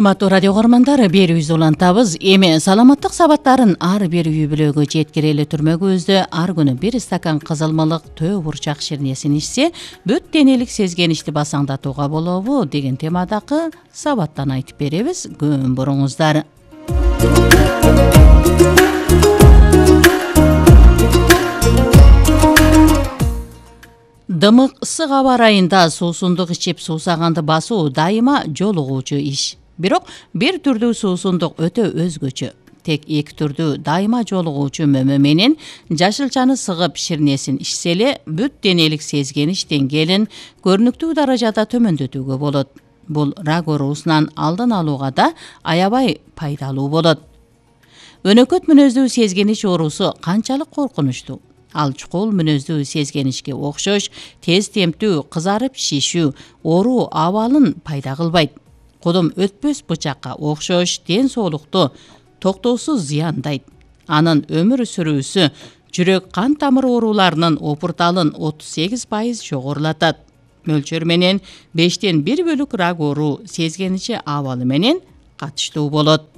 Урматтуу радио көрөрмандар, берүүбүз улантабыз. Эми саламаттык сабаттарын ар бир үй бүлөгө жеткирели түрмөгүбүздө ар күнү 1 стакан кызылмалык төө бурчак ширнесин ичсе, бүт денелик сезгеничти басаңдатууга болобу деген темадагы сабаттан айтып беребиз. Күн буруңуздар. Дымык ысык аба ырайында суусундук ичип суусаганды басуу дайыма жолугуучу иш. Бирок бир түрдүү суусундук өтө өзгөчө. Тек эки түрдүү дайыма жолугуучу мөмө менен жашылчаны сыгып ширнесин ичсе эле бүт денелик сезгенич деңгээлин көрүнүктүү даражада төмөндөтүүгө болот. Бул рак оорусунан алдын алууга да аябай пайдалуу болот. Өнөкөт мүнөздүү сезгенич оорусу канчалык коркунучтуу? Ал чукул мүнөздүү сезгеничке окшош тез темптүү, кызарып шишүү, оору абалын пайда кылбайт. Кодом өтпөс бычакка окшош ден соолукту токтоосуз зыяндайт. Анын өмүр сүрүүсү жүрөк кан тамыр ооруларынын опурталын 38% жогорулатат. Мөлчөр менен 5тен 1 бөлүк рак оору сезгеничи абалы менен катыштуу болот.